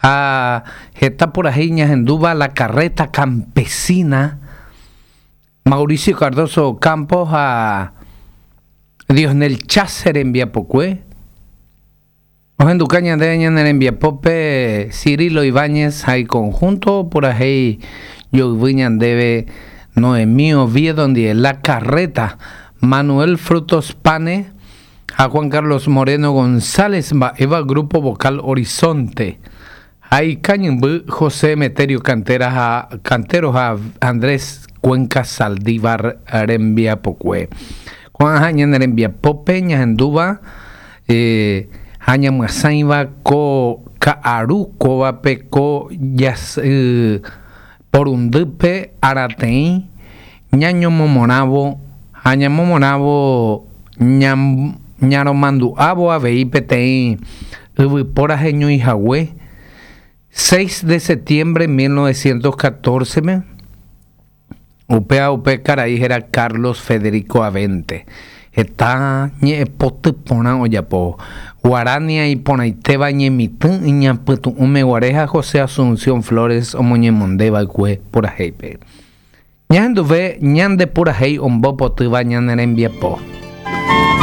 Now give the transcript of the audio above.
Ha heta purahéi ñahendúva La Carreta Campesina, Mauricio Cardozo Campos ha Diosnel Chase rembiapokue. Ohenduka ñandéve ñane rembiapópe Cirilo Ibáñez ha iconjunto purahéi joyvy ñandéve Noemí Oviedo ndive, La Carreta, Manuel Frutos Pane ha Juan Carlos Moreno González mba'éva Grupo Vocal Horizonte ha ikañymby José Emeterio Cantera ha Cantero ha Andrés Cuenca Saldívar rembiapokue. Ko'ã ñane rembiapópe ñahendúva ha ñamyasãiva ko ka'aru kóvape ko jasy porundýpe arateĩ ñañomomorãvo ha ñamomorãvo ñaromandu'ávo avei peteĩ yvypóra heñoihague 6 de septiembre 1914-me. Upéva upe karai héra Carlos Federico Abente. Heta ñe'ẽpoty porã ojapo. Guarania iporãitéva ñemitỹ iñapytu'ũme guare ha José Asunción Flores omoñemonde va'ekue purahéipe. Ñahenduve ñande purahéi ombopotýva ñane rembiapo.